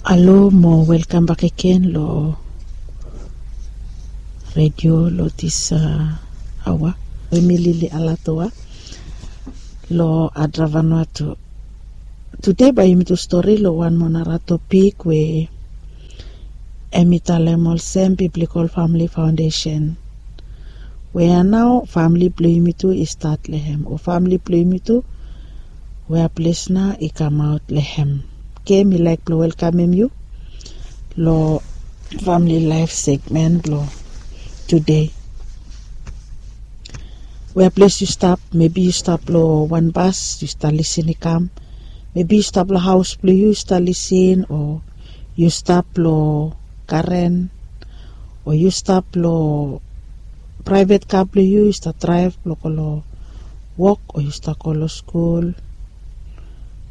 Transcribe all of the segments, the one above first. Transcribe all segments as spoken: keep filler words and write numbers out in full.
Alo mo welkam bakegen lo redio lo dis aoa we mi lili alatoa lo Adravanua tu. Tude bae yumi tu stori lo wan moa nara topik we hemi talem olsem Biblical Family Foundation. Wea nao famili blong yumi tu i stat long hem, o famili blong yumi tu wea ples nao i kamaot long hem. Oke, mi laek blong welkamem yu lo famili laef segmen blo tude. Wea ples yu stap, mebi yu stap lo wan bas yu stap lisin i kam. Mebi yu stap lo haos blo yu yu stap lisin, o yu stap lo karen, o yu stap lo praevet ka blo yu yu stap draev blo go lo wok o yu stap go lo skul.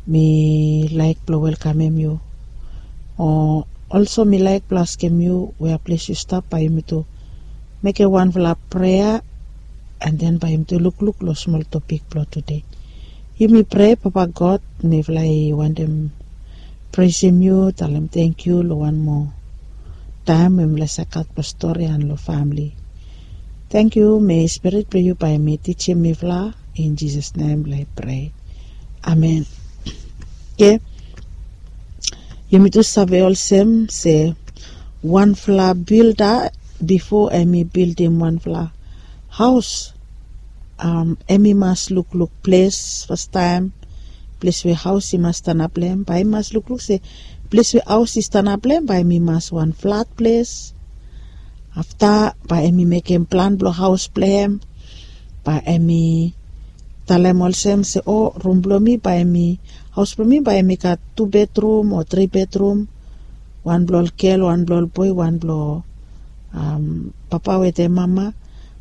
Mi laek blo welkamem yu. O olso mi laek blo askem yu wea ples yu stap bae yumi tu mekem wanfala prea, an den bae yumi tu lukluk lo smol topik blo tude. Yumi prea. Papa God, mifala i wantem presem yu, talem tangkiu lo wan moa taem we mifala save gat blo stori an lo famili. Tangkiu, mei spirit blo yu bae hemi tijim mifala. In Jisas nem mifala i prea. Amen. Oke. Yumi tu save olsem se wanfala bilda bifo hemi bildim wanfala haos, hemi mas lukluk ples fastaem, ples we haos i mas stanap long hem. Bae i mas lukluk se ples we haos i stanap long hem bae hemi mas wan flat ples. Afta bae hemi mekem plan blo haos blo hem. Bae hemi talem olsem se, o, rum blo mi bae hemi, haos blo mi bae hemi gat tu bedrum o tri bedrum. Wan blo ol gel, wan blo ol boe, wan blo papa wetem mama.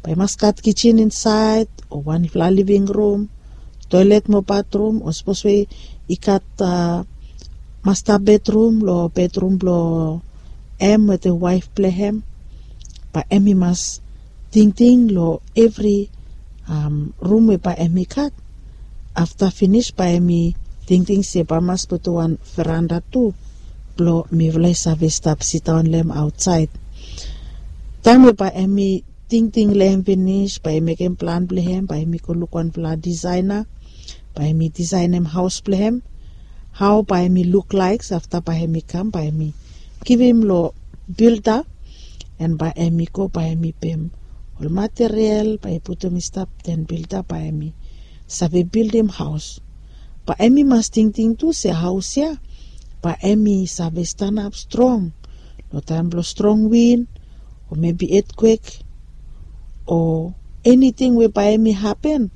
Bae i mas gat kijin insaed o wanfala living rum, toelet mo batrum, o sapos we i gat masta bedrum lo bedrum blo hem wetem waef blo hem, bae hemi mas tingting lo evri rum we bae hemi gat. Afta finis bae hemi tingting se bae i mas putum wan veranda tu blo mifala i save stap sidaon long hem aotsaed. Taem we bae hemi tingting long hem finis, bae i mekem plan blo hem, bae hemi go luk wanfala disaena, bae hemi disaenem haos blo hem, hao bae hemi luklaek. Afta bae hemi kam, bae hemi givim lo bilda, an bae hemi go, bae hemi pem ol material bae i putum i stap, den bilda bae hemi save bildim haos. Bae hemi mas tingting tu se haos ya bae hemi save stanap strong lo taem blo strong win o mebi etkwek o eniting we bae hemi hapen.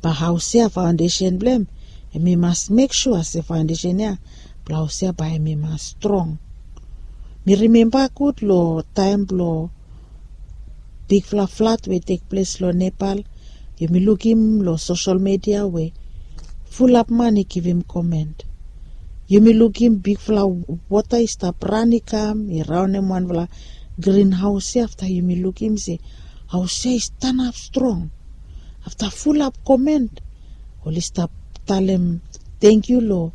Bae haos ya, faondesen blo hem, hemi mas mek sua se faondesen ya blo haos ya bae hemi mas strong. Mi rimemba gud lo taem blo bigfala flad we i tekples lo Nepal. Yumi lukim lo sosel midia we fulap man i givim komen. Yumi lukim bigfala wota i stap ran i kam i raonem wanfala grin haos ya. Afta yumi lukim se haos ya i stanap strong. Afta fulap komen, oli stap talem tangkiu lo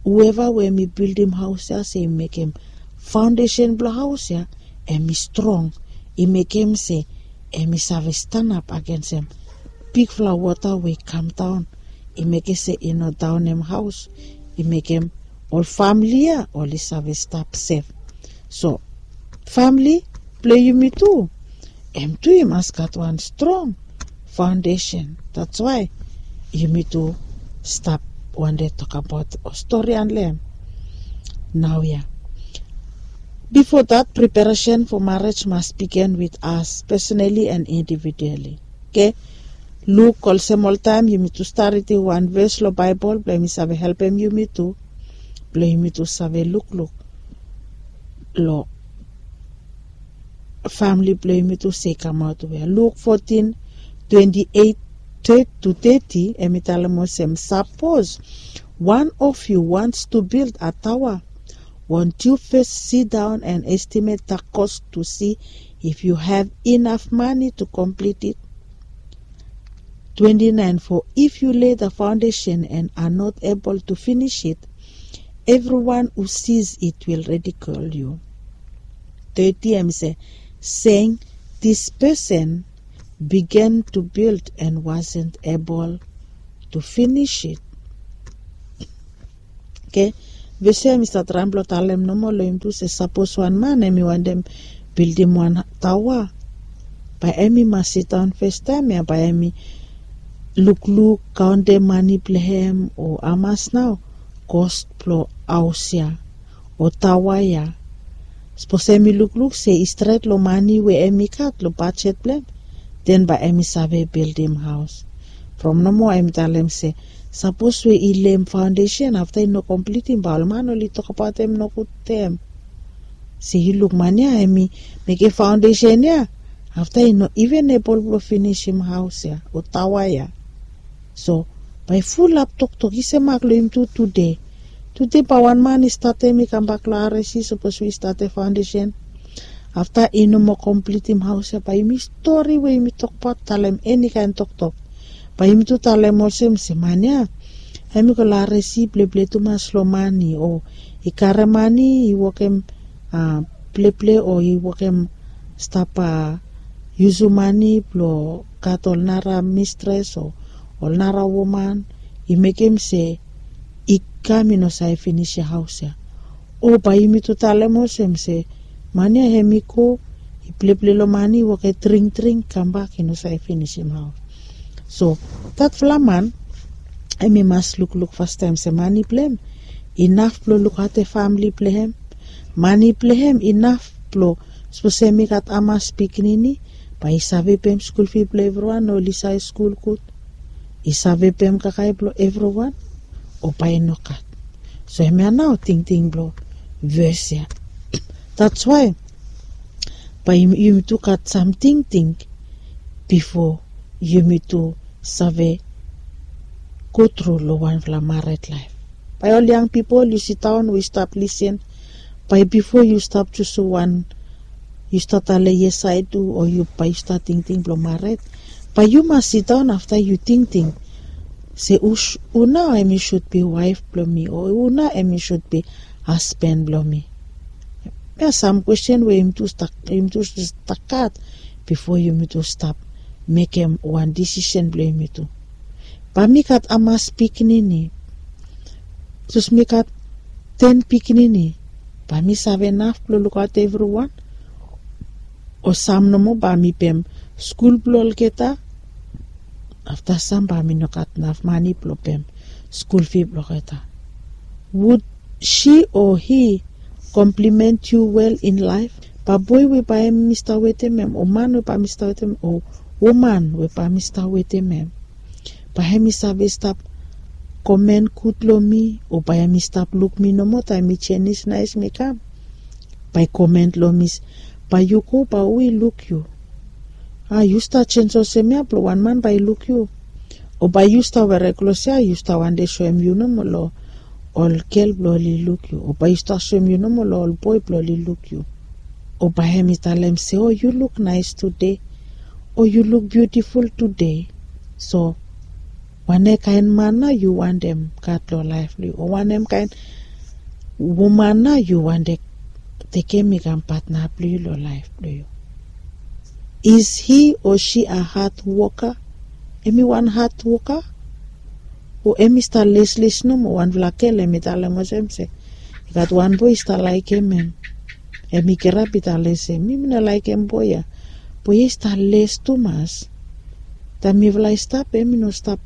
hueva we hemi bildim haos ya se i mekem faondesen blo haos ya hemi strong, i mekem se hemi save stanap agensem bigfala wota we i kamdaon, i mekem se i no daonem haos, i mekem ol famili ya oli save stap sef. So famili blo yumi tu, hem tu i mas gat wan strong faondesen. That's why yumi tu stap wande tokbaot o stori long hem. Naoia, bifo dat, preparesen fo marej mas bigin wit as, pesonali an individuali. Oke. Luk olsem oltaem yumi tu stat ridim wan ves lo Baebol blo yumi save helpem yumi tu, blo yumi tu save lukluk lo famili blo yumi tu se i kamaot wea. Luk fotin, twenti eit tu teti, hemi talem olsem, sapos wan of yu wants tu bild a taoa, won't yu fes sidaon an estimet da kos tu si if yu have inaf mane tu komplit it? Twenti naen, fo if yu lei da faondesen an a not ebol tu finis it, Everyone who sees it will ridicule you. Thirty em se, saying, this person began to build and wasn't able to finish it. Okay. Vese em i stap traem blong talem nomo long yumi tu se sapos wan man em i wantem bildim wan taoa, bae em i mas sidaon fastaem ya bae em i lukluk kaontem mane blong hem o hamas nao kos blong haos ya o taoa ya. Sapos em i lukluk se i stret long mane we em i gat long bajet blong hem, den bae em i save bildim haos. From nomo em i talem se sapos we i lem faondesen afta i no komplitim bae ol man oli tokbaot em nogud tem. Se yu luk man ya em i mekem faondesen ya, afta i no iven ebol blong finisim haos ya o taoa ya. So bae i fulap toktok i se mak long yumi tu tude. Tude bae wan man i statem i kambak long aresi sapos we i statem faondesen, afta i no moa komplitim haos ya bae yumi stori we yumi tokbaot talem enikaen toktok. Bae yumi tu talem olsem se man ya em i go long aresi pleple tumas long mane o i karem mane i wokem pleple o i wokem stap yusum mane blong gat ol nara mistres o ol nara woman i mekem se i kam i no save finisim haos ya. O bae yumi tu talem olsem se man ya em i go i pleple long mane i wokem dringdring kambak i no save finisim haos. So datfala man em i mas lukluk fastaem se mane blong hem inaf blong lukaotem famili blong hem. Mane blong hem inaf blong sapos em i gat hamas pikinini bae i save pem skul fi blong evriwan o oli save skul gud, i save pem kakae blong evriwan o bae i no gat. So hemia nao tingting blong ves ya. That's why bae yumi tu gat sam tingting bifo yumi tu save go tru long wanfala mared laef. Bae ol yang pipol yu sidaon we yu stap lisin, bae bifo yu stap jusum wan yu stap talem yes ae du o yu bae yu stap tingting blong mared, bae yu mas sidaon afta yu tingting se hu nao em i sud bi waef blong mi o hu nao em i sud bi hasben blong mi. Hemia sam kwesten we yumi tu stap gat bifo yumi tu stap mekem wan disisen blong yumi tu. Bae mi gat hamas pikinini? Sapos mi gat ten pikinini, bae mi save naf blong lukaot evriwan? O sam nomo bae mi pem skul blong olgeta, afta sam bae mi no gat naf mane blong pem skul fi blong olgeta. Would she or he compliment you well in life? Bae boe we bae mi stap wetem hem o man we bae mi stap wetem hem o woman we bae mi stap wetem hem, bae hem i save stap komen gud long mi o bae hem i stap luk mi nomo taem mi jenis naes mi kam? Bae i komen long mi se, bae yu go bae hu i luk yu? A yu stap jens olsem ya blong wan man bae i luk yu? O bae yu stap were klos ya yu stap wande soem yu nomo long ol gel blong oli luk yu o bae yu stap soem yu nomo long ol boe blong oli luk yu? O bae hem i talem se o yu luk naes tude o yu luk biutiful tude. So wanem kaen man nao yu wantem gat long laef blong yu o wanem kaen woman nao yu wantem tekem i kam patna blong yu long laef blong yu? Is he or she a hard woka? Em i wan hard woka o em i stap lesles nomo? Wanfala gel em i talem olsem se i gat wan boe i stap laekem hem. Em i kirap i talem se mi mi no laekem boe ya. Boe ya i stap les tumas. Taem mifala i stap em i no stap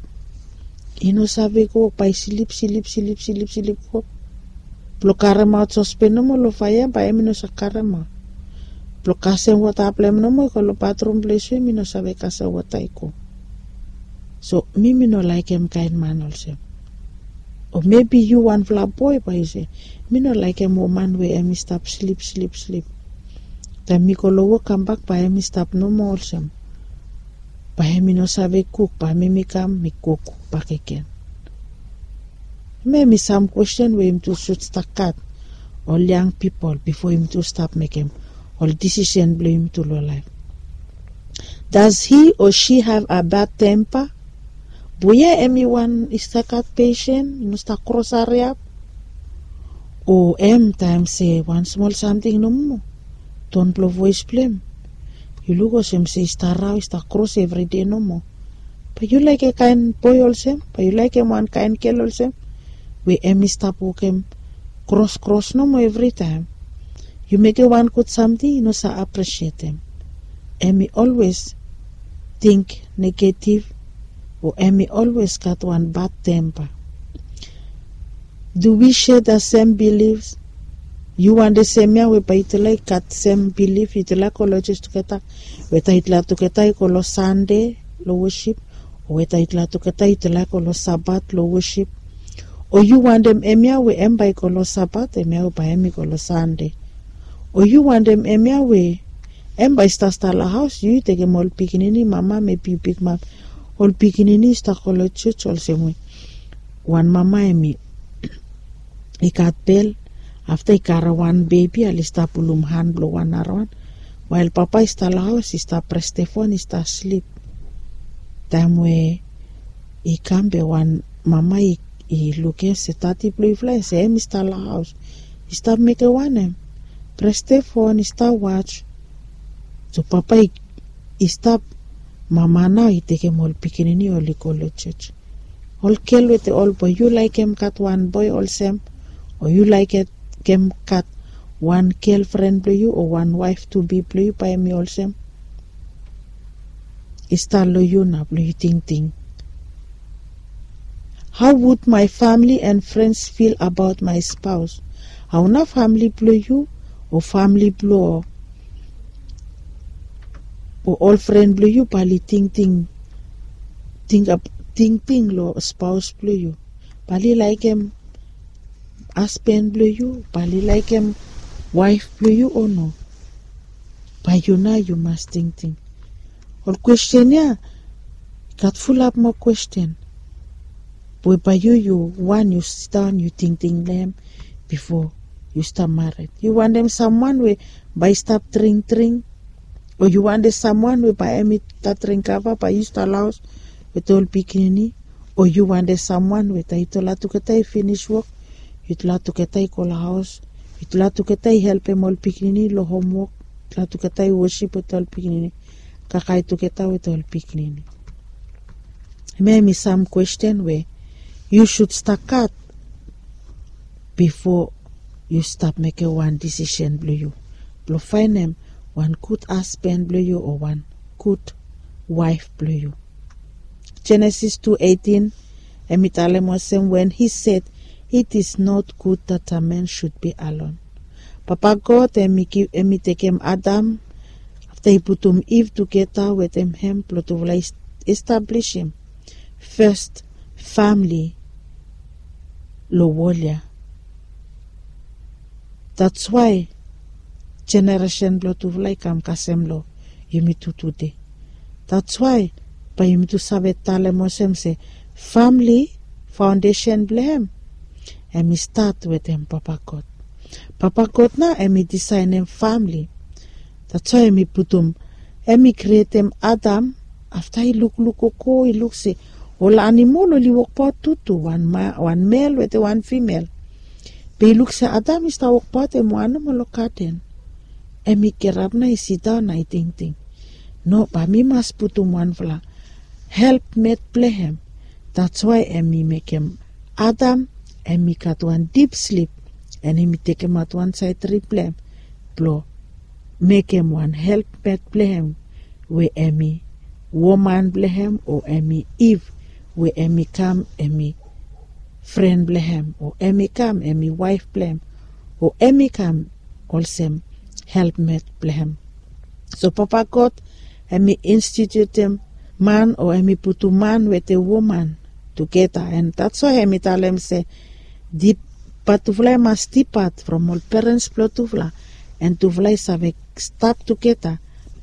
i no save go wok bae i slip slip slip slip slip go blong karemaot sospen nomo long faea bae em i no save karemaot. Blong kasem wota blong em nomo i go long batrum ples we em i no save kasem wota i go. So mi mi no laekem kaen man olsem. O mebi yu wanfala boe bae yu se mi no laekem woman we em i stap slip slip slip. Taem mi go long wok kambak bae em i stap nomo olsem. Bae em i no save kuk bae mi mi kam mi go kuk bakegen. Hemia em i sam kwesten we yumi tu sud stap gat ol yang pipol bifo yumi tu stap mekem ol disisen blong yumi tu long laef. Does he or she have a bad temper? Boe ya em i wan i stap gat pesen i no stap kros hariap? O em taem se wan smol samting nomo, ton blong voes blong em, yu luk olsem se i stap rao, i stap kros evride nomo. Bae yu laek kaen boe olsem? Bae yu laekem wan kaen gel olsem, we em i stap wokem kros kros nomo evritaem? Yu mekem wan gud samting, i no save apresietem. Em i olwes ting negetiv, o em i olwes gat wan bad tempa. Do we share the same beliefs? Yu wantem semia we bae yutala i gat sem bilif, yutala i go long jos tugeta, weta yutala tugeta i go long Sande long wosip, o weta yutala tugeta yutala i go long Sabat long wosip? O yu wantem hemia we em bae i go long Sabat, hemia we bae em i go long Sande? O yu wantem hemia we em bae i stap stap long haos, yu i tekem ol pikinini, mama, mebi yu bigmam, ol pikinini i stap go long jos olsem we wan mama em i i gat bel, afta i karem wan bebi, oli stap pulum han blong wan narawan, wael papa i stap long haos, i stap pres stefon, i stap slip. Taem we i kam be wan mama i, i lukim se dadi blong yufala, se em i stap long haos, i stap mekem wanem? Pres stefon, i stap was. So papa i, i stap, mama nao i tekem ol pikinini, oli go long jos. Ol gel wetem ol boe, yu laekem gat wan boe olsem, o yu laekem gat wan gelfren blong yu o wan waef tu bi blong yu, bae em i olsem? I stap long yu nao blong yu tingting. How would my family and friends feel about my spouse? Hao nao famle blong yu o famle blong o ol fren blong yu bae oli tingting, tingting long spaos blong yu? Bae oli laekem hasban blong yu? Bae oli laekem waef blong yu o no? Bae yu nao yu mas tingting. Ol kwesten ya i gat fulap moa kwesten we bae yu, yu wan yu sidaon yu tingting long hem bifo yu stap mared. Yu wantem samwan we bae i stap dring dring, o yu wantem samwan we bae hem i stap dring kava bae yu stap long haos wetem ol pikinini? O yu wantem samwan we taem yutala tugeta i finis wok, yutala tugeta i go long haos, yutala tugeta i helpem ol pikinini long homwok, yutala tugeta i wosip wetem ol pikinini, kakae tugeta wetem ol pikinini? Hemia hem i sam kwesten we yu sud stap gat bifo yu stap mekem wan disisen blong yu blong faenem wan gud hasban blong yu o wan gud waef blong yu. Jenesis tu eitin, hem i talem olsem, when he said, "It is not good that a man should be alone." Papa God hem i gi, hem i tekem Adam, afta i putum Iv tugeta wetem hem blong tufala i establisim fes famle long wol ya. That's why jeneresen blong tufala i kam kasem long yumi tu tude. That's why bae yumi tu save talem olsem se famle, faondesen blong hem, hem i stat wetem Papa God. Papa God nao hem i disaenem famle. That's why hem i putum, hem i krietem Adam. Afta i lukluk gogo, i luk se ol animol oli wokbaot tutu, wan ma, wan mel wetem wan fimel. Be i luk se Adam i stap wokbaot hem wan nomo long gaden. Hem i kirap nao i sidaon nao i tingting, no, bae mi mas putum wanfala helpmet blong hem. That's why hem i mekem Adam hem i gat wan dip slip, and hem i tekemaot wan saed rib blong hem blong mekem wan helpmet blong hem, we hem i woman blong hem, o hem i Iv, we hem i kam hem i fren blong hem, o hem i kam hem i waef blong hem, o hem i kam olsem helpmet blong hem. So Papa God hem i institutem man, o hem i putum man wetem woman tugeta, and that's why hem i talem se, dip, bae tufala i mas dipat from ol perens blong tufala, and tufala i save stap tugeta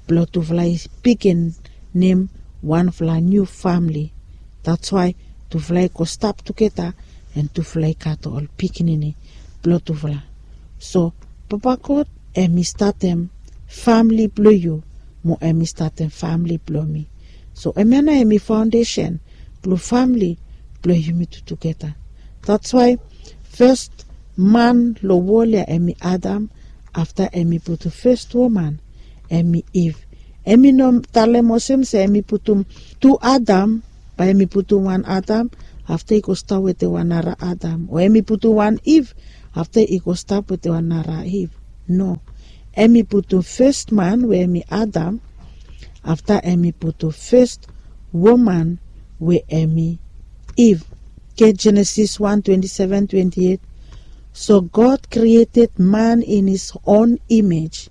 blong tufala i bigin nem wanfala niu famle. That's why tufala i go stap tugeta, and tufala i gat ol pikinini blong tufala. So Papa God hem i statem famle blong yu, mo hem i statem famle blong mi. So hemia nao hem i faondesen blong famle blong yumi tu tugeta. That's why fes man long wol ya hem i Adam, afta hem i putum fes woman, hem i Iv. Hem i no talem olsem se hem i putum tu Adam, bae hem i putum wan Adam, afta i go stap wetem wan nara Adam, o hem i putum wan Iv, afta i go stap wetem wan nara Iv. No. Hem i putum fes man we hem i Adam, afta hem i putum fes woman we hem i Iv. Get Genesis one twenty-seven, twenty-eight. So God created man in his own image.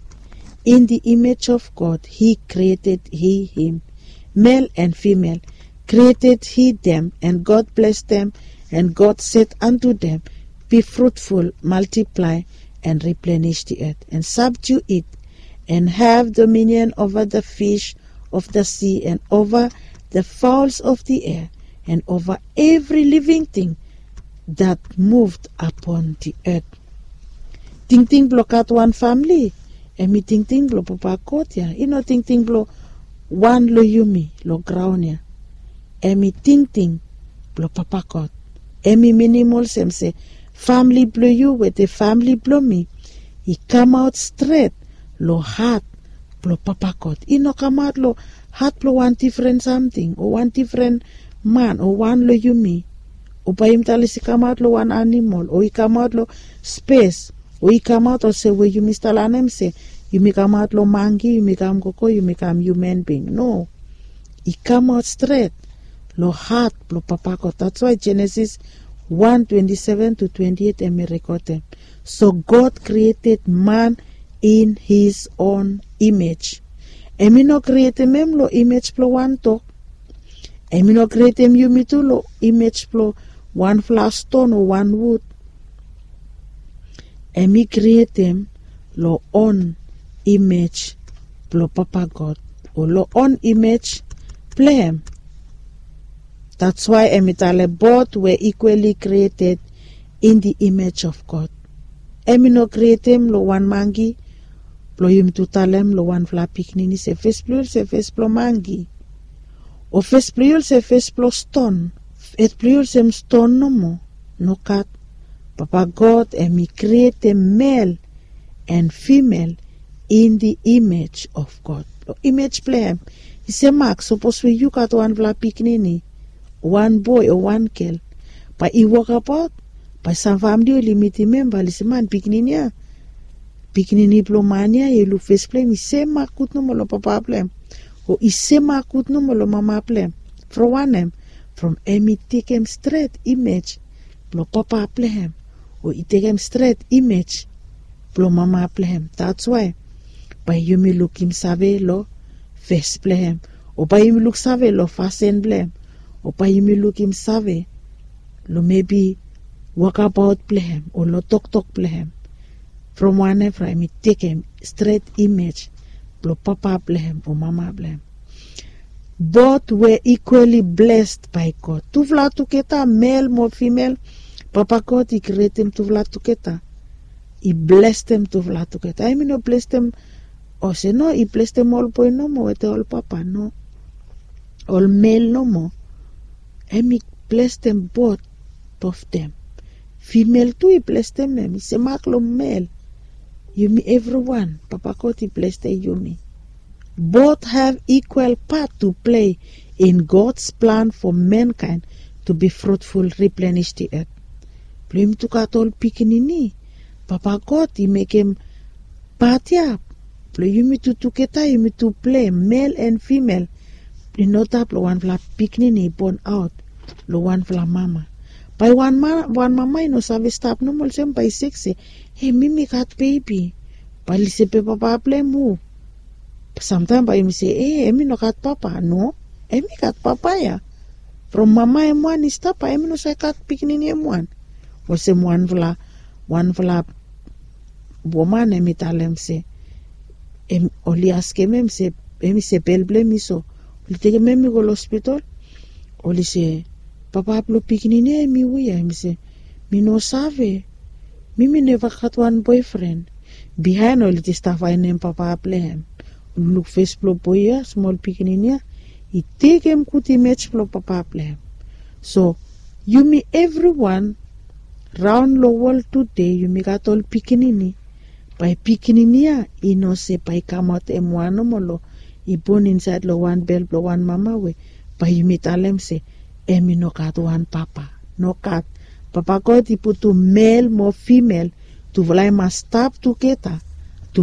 In the image of God, he created he him. Male and female created he them, and God blessed them, and God said unto them, be fruitful, multiply, and replenish the earth, and subdue it, and have dominion over the fish of the sea, and over the fowls of the air, and over every living thing that moved upon the earth. Tingting blong gat wan famili, hem i tingting blong Papa God ya. I no tingting blong wan long yumi long graon ya. Hem i tingting blong Papa God. Hem i minim olsem se famili blong yu wetem famili blong mi i kamaot stret long hat blong Papa God. I no kamaot long hat blong wan difren samting o wan difren man o wan long yumi. O bae yumi talem se i kamaot long wan animol, o i kamaot long spes, o i kamaot olsem we yumi stap lanem se yumi kamaot long mangi, yumi kam gogo, yumi kam human being. No. I kamaot stret long hat blong Papa God. That's why Genesis one twenty-seven to twenty-eight hem i rekodem. So God created man in his own image. Hem i no krietem hem long image blong wan dog. Hem i no krietem yumi tu long image blong wanfala ston o wan wud. Hem i krietem long own image blong Papa God, o long own image blong hem. That's why hem i talem both were equally created in the image of God. Hem i no krietem long wan mangi blong yumi tu talem long wanfala pikinini se fes blong yu olsem fes blong mangi, o fes blong yu olsem fes blong ston, fes blong yu olsem ston nomo. Nogat. Papa God hem i krietem male and female in the image of God. Long image blong hem. I semak sapos we yu gat wanfala pikinini, wan boe o wan gel, bae i wokabaot, bae sam famili oli mitim hem bae oli se man pikinini ya, pikinini blong man ya, yu luk fes blong hem i semak gud nomo long papa blong hem, o i semak gud nomo long mama blong hem. From wanem? From hem i tekem stret image blong papa blong hem, o i tekem stret image blong mama blong hem. That's why bae yumi lukim save long fes blong hem, o bae yumi luk save long fasin blong hem, o bae yumi lukim save long mebi wokabaot blong hem o long toktok blong hem. From wanem? From hem i tekem stret image blong papa blong hem o mama blong hem. Both were equally blessed by God. Tufala tugeta, male mo female, Papa God i krietem tufala tugeta. I blestem tufala tugeta. Hem i no blestem olsem no i blestem ol boe nomo wetem ol papa, no. Ol male nomo. Hem i blestem both of them. Female tu i blestem hem, i semak long male. Yumi evriwan Papa God i blestem yumi. Both have equal part to play in God's plan for mankind to be fruitful, replenish the earth. Blong yumi tu gat ol pikinini, Papa God i mekem pat ya blong yumi tu tugeta yumi tu plei, male and female. I no stap long wanfala pikinini i bon aot long wanfala mama. Bae wan mama i no save stap nomo olsem, bae i sek se, e, mi mi gat bebi. Bae oli se, be papa blong hem hu? Samtaem bae yumi se, e, hem i no gat papa. No, hem i gat papa ya. From mama hem wan i stap, bae hem i no save gat pikinini hem wan. Olsem wanfala, wanfala woman hem i talem se, oli askem hem se, hem i se bel blong hem i so. Oli tekem hem i go long hospital. Oli se, papa blong pikinini ya hem i hu ya? Hem i se, mi no save. Mi mi neva gat wan boefren. Bihaen oli jes stap faenem papa blong hem. Oli luk fes blong boe ya, smol pikinini ya, i tekem gud imej blong papa blong hem. So yumi evriwan raon long wol tude yumi gat ol pikinini. Bae pikinini ya i no se bae i kamaot em wan nomo long i bon insaed long wan bel blong wan mama we bae yumi talem se em i no gat wan papa. Nogat. Papa God i putum mel mo fimel, tufala i mas stap tugeta.